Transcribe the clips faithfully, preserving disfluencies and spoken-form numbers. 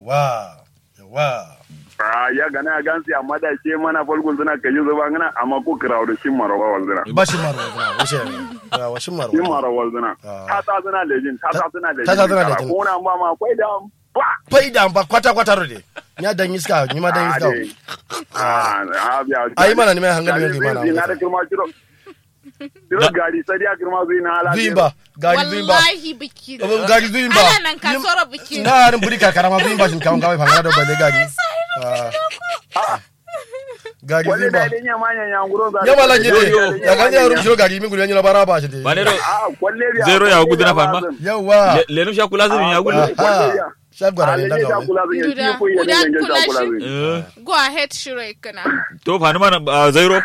Yawwa. Yawwa. Ah, ya gana ya gansi amma da shi mana falgun suna kaji zuba ngana amma ko kirawo da shin maro ba walzina. Ba shin maro walzina. Wuce. Yawwa, shin maro. Shin maro walzina. Ah. Ta sa suna lejin, ta sa suna lejin. Ta sa suna lejin. Kuna ba ma kwai da ba. Kwai da ba kwata kwata rode. Ya dan iska, ni ma dan iska. Ah, ah, biya. Ayi mana ni mai hankali ne mana. Ina da kirma kiro. Diro gari sadiya girma zuyi na ala. Zuyi ba. Gari zuyi ba. Wallahi biki. Gari zuyi ba. Ala nan ka soro biki. Na harin buri karkara ma zuyi ba shin kawon kawai fangana da balle gari. Gari zuyi ba. Ya mala nye de. Ya gani ya rum shiro gari min gudu ya nyina bara ba shi de. Ba ne do. Zero ya gudu na fanma. Yawa. Lenum sha kula zuyi ya gudu. Sha gwara ne daga wani. Guda kula shi. Go ahead shiro ikana. To fanma na zero.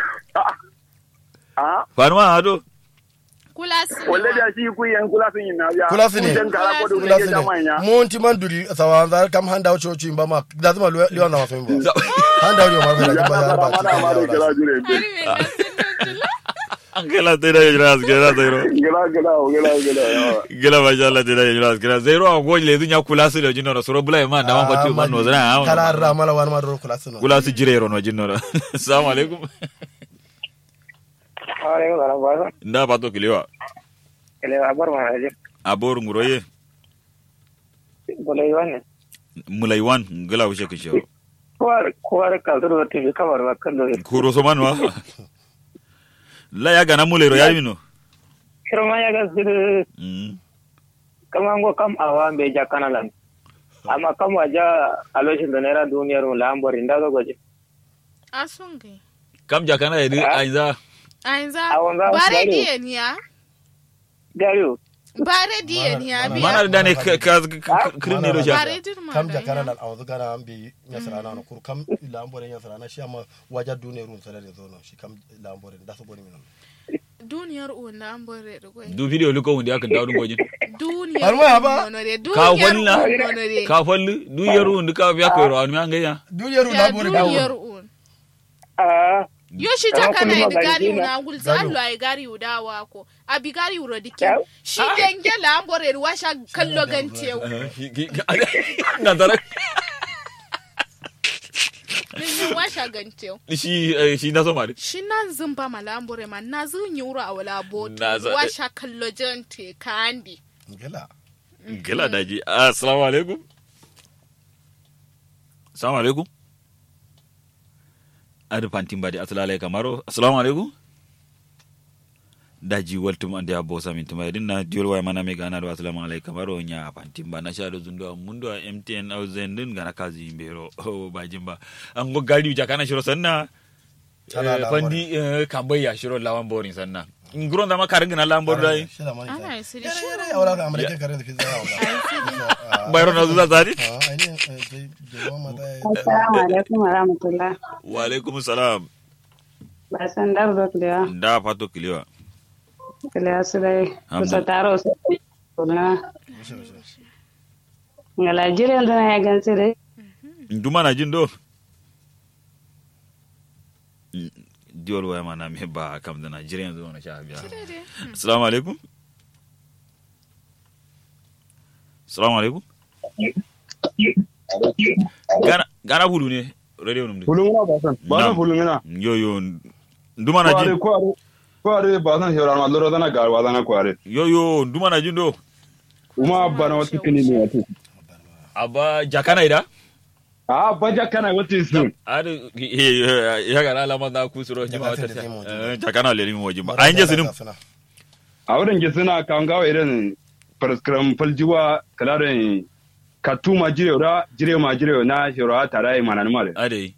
Fanuma ado. Kulasi. Walle da shi ku yan kulasi ni na ya. Kulasi ne. Kulasi ne. Mun ti man duri sawanza kam handa wuce wuce ba ma da zuma liwan da masu ba. Handa wuce ma bai da ba ya ba. An kala tera ya jira aske na tero. Gila gila gila gila. Gila masha Allah tera ya jira aske na zero a goji le dunya kulasi da jinno soro bula ma da man fatu man no zana. Kala ramala wani ma duro kulasi no. Kulasi jire ro no jinno. Assalamu alaikum. Alaikum salam. Nda fato kilewa. Kilewa abor ma aje. Abor nguroye. Mulaiwan ne. Mulaiwan ngila wushe kishe. Kuwar kuwar ka zuru da tibi kamar ba kan dole. Kuro so manwa. La ya gana mulairo ya mino. Kirma ya ga zuru. Mm. Kama ngo kam awa mbe jakana lan. Amma kam waja aloshin da naira duniyar mu lambori nda zo goje. Asungai. Kam jakana ya di ainza. Ainza. Bare diye niya. Gariyo. Bare diye niya biya. Mana da ne ka kirin ne do sha. Kam jakana lan awanzu gana an bi nyasarana no kur kam lambore nyasarana shi amma waja dune run sare da zono shi kam lambore da su goni minon. Duniyar uwan na an bore da gwai. Du video luko wanda ya kan dawo dun gojin. Duniyar uwan nono de. Ka falla. Ka fallu duniyar uwan duka ya koyarwa wani an gayya. Duniyar uwan na bore da duniyar uwan. Yo shi jakana idi gari una gulza allo ay gari uda wako abi gari uro dikin. Shi denge lambore washa kallo gantew. Ganzara. Denge washa gantew. Shi shi na zoma de. Shi nan zumba ma lambore ma na zunyi uro awala botu washa kallo jante kandi. Gila. Gila daji. Assalamu alaikum. Assalamu alaikum. Adi fantin badi asalamu alaikum kamaro assalamu alaikum. Daji waltum ande abbo samin tuma yadin na diol waya mana me gana do assalamu alaikum kamaro nya fantin ba na sha do zundo mundu a mtn au zendin gana kazi mbero. O bajin ba ango gari uja kana shiro sanna. Fandi kambai ya shiro lawan borin sanna. Nguron zama karin gina lawan borin dai. Ana yi siri shi. Bayro na zuza zari. Assalamu alaikum wa rahmatullah. Wa alaikum salam. Ba san dar zo kilewa. Da fato kilewa. Kilewa su dai. Kusa taro su. Ngala jiren zana ya gansu dai. Nduma na jin do. Diwol waya mana me ba kam dana jire yanzu wani sha biya. Assalamu alaikum. Assalamu alaikum. Gana gana bulu ne radio num de. Bulu ngana ba san ba san bulu ngana. Yo yo. Nduma na jin. Kware kware ba san shora ma loro dana ga wa dana kware. Yo yo nduma na jin do. Uma abba na wata kini ne wata. Abba jakana ida. A ba jakana wata isu. Adi ya gara alama na kusuro ni ma wata jakana le ni mo jimba a inje sinim. A wurin ji suna kangawa irin. Farskram faljiwa kalarin. Katu ma jire ra jire ma jire na shiro a tara yi manani mare. Ade.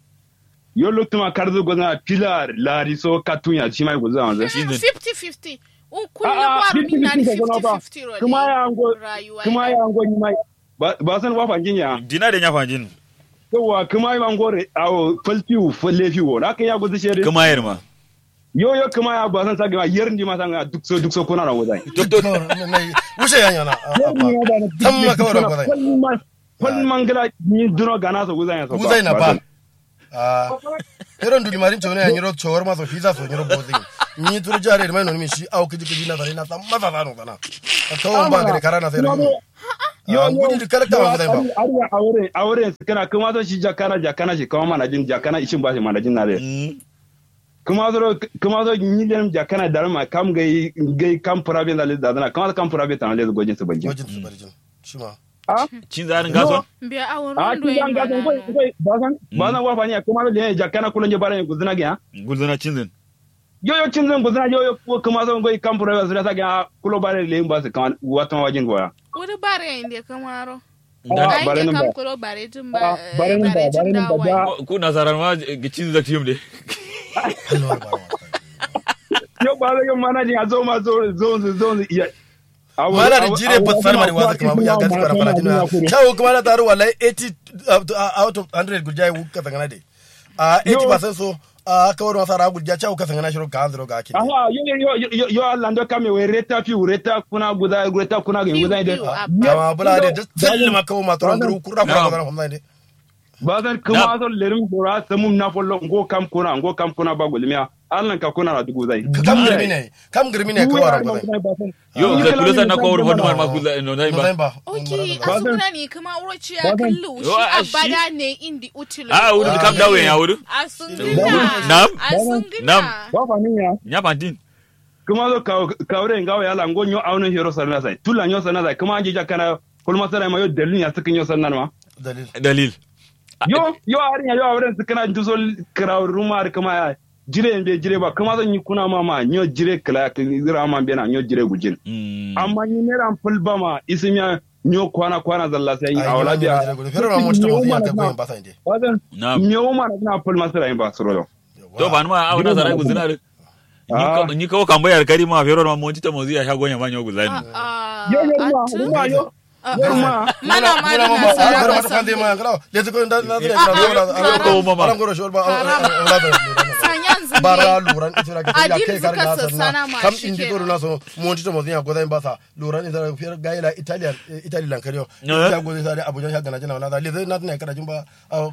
Yo loktu ma karzu gozna pilar lari so katu ya shi mai gozna wanzu. Fifty fifty. Un kullum waro min na ni fifty fifty ro. Kuma ya ango. Kuma ya ango ni mai. Ba san wa fanjin ya. Dina da nya fanjin. Yawa kuma ya ango re awo falfiu fallefiu wo na kan ya gozu shere. Kuma yar ma. Yo yo kuma ya ba san sa ga yar ndi ma san ga duk so duk so kuna na wozai. Wuce ya nyana. Tamma kawai da wozai. Kwal mangala ni duno gana so wozai so. Wozai na ba. Ah, irin duli marin cewne ya nyiro cewar maso fiza so nyiro bozi. Ni turu jare mai non mi shi au kiji kiji na sare na san masa sano sana. Tawon ba gare kara na sai. Yo, ngudi di kalakta ma zai ba. Ariya awore awore kana kuma so shi jakana jakana shi kuma manajin jakana ishin ba shi manajin na dai. Kuma so kuma so ni lenim jakana dalma kam gai gai kam private da da kuma kam private na le gojin su banjin. Gojin su banjin. Shima. A cin zanin gaso. Mbiya awon a cin zanin gaso ngoi ngoi bazan bazan wa fani kuma le jakana kulon je bare guzuna ga. Guzuna cin zin. Yo yo cin zan guzuna yo yo kuma so ngoi kam furo yo sura sake a kulo bare le ba su kan wata wajin goya. Wuri bare inde kamaro. Ai bare ke nan kam ba kulo bare tun ba bare nan ba bare nan ba. Ku nasaran ma cin zan tiyum de. Yo ba zai mana jin a zo ma zo zo zo iya. Mana da jire ba tsar mani waza kuma ya gaskara fara jina. Chawo kuma na taru wallahi eighty out of hundred gujai wuka tangana de. A eighty percent so a kawar wasa ra gulja chawo ka sangana shiro ka hanziro ga kidi. Aha yo yo yo yo yo Allah ndo kame we reta fi reta kuna guda reta kuna ga guda ide. Kama bula de just tell ma kawo ma toron guru kurra kurra guda na kuma ide. Bazan kuma so lerim dora samum na follo ngo kam kuna ngo kam kuna ba gulmiya. Allah ka kuna na dugu zai. Kam girmi ne kam girmi ne kawara guda. Yo zai kula sa na ko wuri fadu ma ma kula no nai ba. Oki asunguna ni kuma uro ciya kallu shi abada ne indi utilo. A wuri kam dawe ya wuri. Asunguna nam nam. Ba faniya nya bantin. Kuma zo kawure ngawo yala ngo nyo awno hero sarna sai tula nyo sarna sai kuma anje jakana kulma sarai ma yo dalil ya sukin nyo sarna ma. Dalil. Yo yo arin ya yo awren sukana nduso krawruma ar kuma ya. Jire mbe jire ba kuma zan yi kuna mama nyo jire kala ya kan zira ma mbe na nyo jire gujin. Amma ni ne ran fulba ma isimiya nyo kwana kwana zalla sai yi awla biya. Fero ma mota mo ya ka goyen ba sai de. Bazan me wo mana na fulma sira yin ba suro do. To ba ma awna zarai guzina de. Ni kawo kambo yar kari ma fero ma monti to mozi ya sha gonya ma nyo guzani. Yo yo ma yo. Mana mana na sara ba sa. Lezi ko nda na zira ko mama. Aran goro shol ba. Sanyan zinde. Bara luran itira ke ya ke kar na sana kam indi doro na so monti to mozi ya gozai ba sa luran itira fiyar gaila italian italian kariyo ya gozai sa abuja ya gana jina na lezi na na kara jin ba.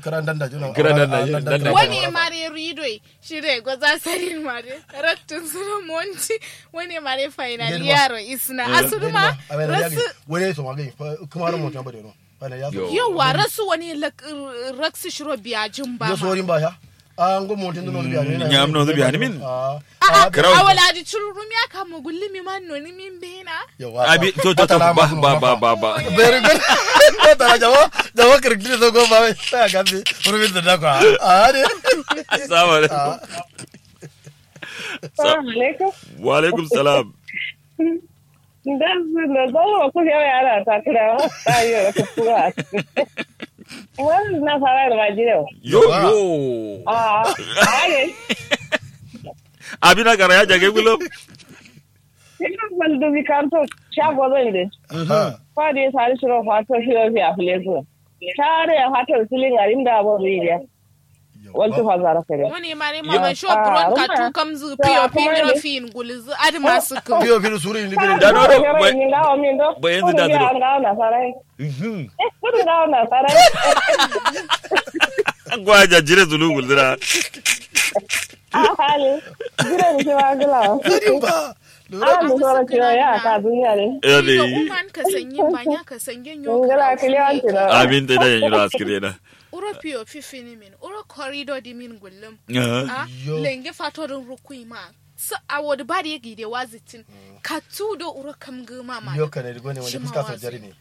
Kara ndanda jina kara ndanda. Wani mare ridoi. Shire gwaza sarin mare rattun suna monti. Wani mare final yaro isna asuduma. Rasu wani so magai kuma ran monti ba da no. Yawa rasu wani raksu shiro biyajin ba ma. Sorin ba ya. A ngo monti no biya ne nyam no biya ne min. A wala di chururumi aka mo gulli mi man no ni min bena. Abi to to to ba ba ba ba ba. Very good. Ko tara jawo jawo kirkiri so go ba ta ga bi. Rumin da ko a ne. Assalamu alaikum. Assalamu alaikum. Wa alaikum salam. Nda nda zo ko ya ya ra ta kira ayo ko kuwa. Wani na fara da majiro. Yo yo. A a ne. Abina kara ya jage gulo. Ina mal dubi karto shago zan de. Fa de sari shiro fato shiro fi afleso. Tare ya fato silin arin da bo riya. Waltu fazara kare. Wani mare mama sho buron ka tu kamzu piyo piyo fin gulzu adma suku. Piyo piyo suru indi gulzu. Da no do. Bayan zu da duro. Gwaja jire zulu gulzura. Ahali. Jire ni shi magula. Zuri ba. Lura. Ahali soro kiro ya ka duniya ne. Ya de. Uman ka sanyi banya ka sanyi nyo. Ngala kiliyan kiro. Amin te da yanyu askire na. Uro piyo fifini min uro korido di min gullum. A lenge fato din rukui ma. Su awo di bari gi de wazitin. Ka tu do uro kam guma ma. Yo kane di gone wanda fuska so jari ne.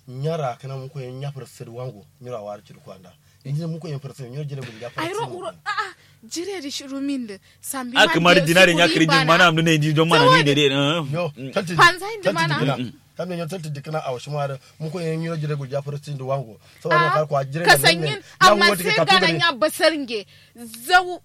Nyara kana muko yen nya fursid wango nyura war cid kwanda. Inji muko yen fursid nyura jire gulja fursid. Airo uro a a jire di shiru min de sambi a kamar dinare nya kiri jin mana amdu ne inji don mana ni de de. Yo talti panza indi mana. Kam ne nyo talti dikna awo shima da muko yen nyura jire gulja fursid wango. Saboda ka kwa jire ka sanyin amma sai gana nya basar nge. Zau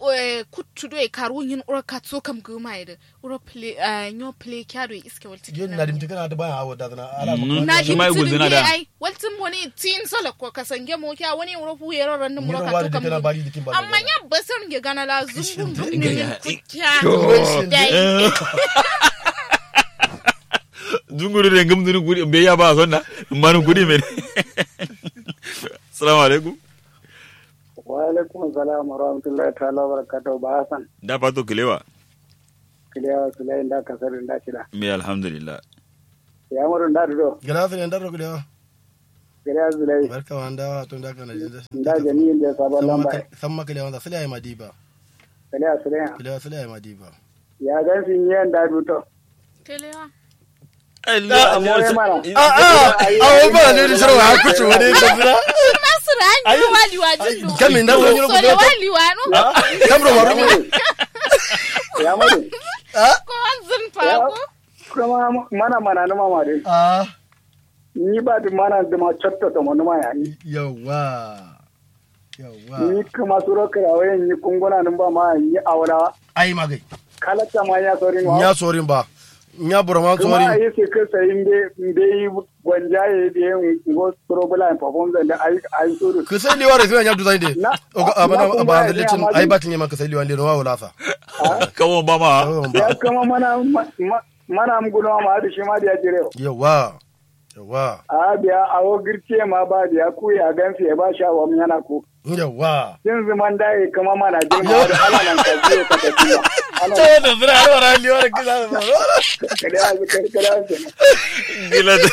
kuttu do e karu yin uro katso kam guma ide. Uro ple nyo ple kyado iske walti. Yo nadim tikana da baya awo da zana ala. Nadim tikana da ai waltin moni tin sala ko kasange mo kya wani uro fu yero ran mo ka to kam. Amma nya basar nge gana la zungun dun ne kya. Dai. Zunguru de ngum dun gudi be ya ba sonna manu gudi men. Assalamu alaikum. Wa alaikum salam wa rahmatullahi ta'ala wa barakatuh ba hasan. Da fato kilewa. Kilewa kilewa inda kasar inda kida. Me alhamdulillah. Ya muru nda do. Gana fere nda do kilewa. Kariya zulai. Barka ma nda wa to nda kana jin da. Nda gani inda sabon lamba. Samma kale wanda sule ai madiba. Kale a sule ya. Kale sule ai madiba. Ya gan sin yan da duto. Kalewa. A'a awo ba ne da shirwa har kuce wani da zira. Shirma sura an yi wali wa jin do. Kamin da wani rubu da wali wa no. Kamro ma rubu. Ya mare. Ko an zin fa ko. Kuma mana mana numa ma dai. Ni ba duk mana duma cotto to mo numa ya ni. Yawwa. Yawwa. Ni kuma suro kirawo yin ni kunguna nun ba ma ni aura. Ai magai. Kalatta ma nya sorin wa. Nya sorin ba. Nya buraman sorin. Kuma yi su kasa inde inde yi gwanja ya yi biye ngo suro bula in perform zan da ai ai suru. Ku sai liwa da suna nya duzai de. Oga abana ba handle cin ai ba tin yamma ku sai liwa de no wa wulasa. Kawon ba ma. Ya kuma mana mana am guno ma da shi ma da ya jire. Yawwa. Yawwa. A biya awo girce ma ba biya ku ya gan fiye ba sha wa mun yana ku. Yawwa. Kin zuman da ya kuma mana jin ma da ala nan ka je ka tafi ba. Ala ta da zira har wara liwa da kisa da zira. Kada ya zikar kada ya zikar. Gila da.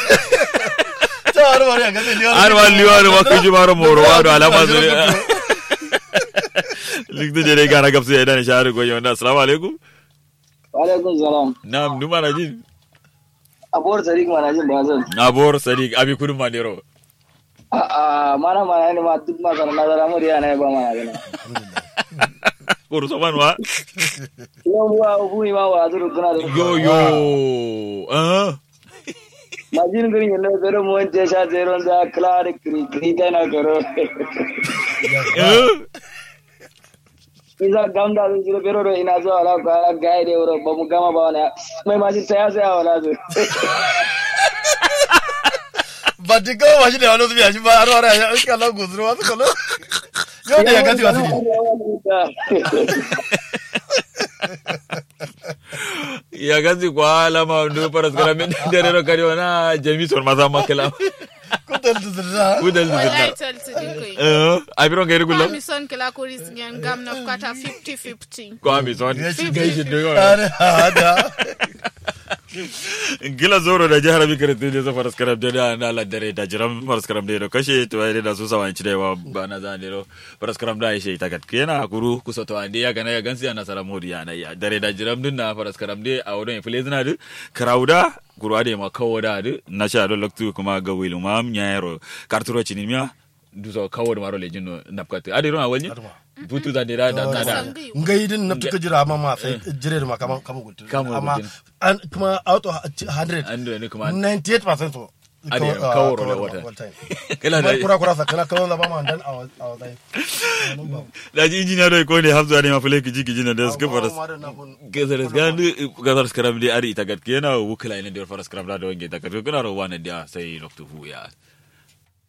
Ta har wara ya gasa liwa. Har wara liwa da ma kuji mara moro wa da alama zuri. Likta jere gara gabsu ya dani shahari goyi wanda assalamu alaikum. Wa alaikum salam. Na'am numa na jin. Abor sadiq mana jin bazan. Abor sadiq abi kudun mandero. A'a mana mana ne ma duk ma kana nazara mu riya na ba mana gana. Kuru so man wa. Yo wa bu ma wa duru gana. Yo yo. Ah. Majin gari ne zero mo je sha zero da klar kri kri ta na karo. Iza gamda zan jiro bero do ina zuwa wala ko ala gai de wuro ba mu gama ba wala mai ma jin taya sai wala zo. Ba ti ko ma shi da wala zuwa shi ba aro ara ya ka la guzuru wa ko lo. Yo da ya gati wa sini. Ya gati kwa alama ndo paras kala min dare ro kari wana jami son maza makala. Kudal duzurna. Kudal duzurna. Wallahi tol tudin koi. Eh, abiro ngai rugulo. Kwa mison kila kuris ngen gam na kwata fifty fifty. Kwa mison. Ngai shi doyo. Are hada. Ngila zoro da jihar bi kare tede so faras karam de da na la dare da jiram faras karam de do kashe to ai da su sawan ci da wa ba na zan de do faras karam da ai shi ta kat kena kuru kuso to ande ya gana ya gansi ana sara modi ya na ya dare da jiram din na faras karam de a wodon fule zina de krauda kuru ade ma kawo da adu na sha do loktu kuma ga wilu ma am nyayero karturo cinin miya duso kawo da maro lejin no napkatu ade ro awalni butu da dira da da da ngai din naptu ka jira amma ma sai jire ma kaman kaman gutun amma an kuma out of hundred hundred ne kuma ninety eight percent so ade kawo ro da wata kala da kura kura sa kala kawo da ba ma dan a wata da ji injiniya do ko ne hafzu ade ma fule kiji kiji na da suka faras ke sai da suka ndu ga faras karam de ari ita gat kena wukla ina da faras karam da wange ta gat kena ro wana da sai loktu fu ya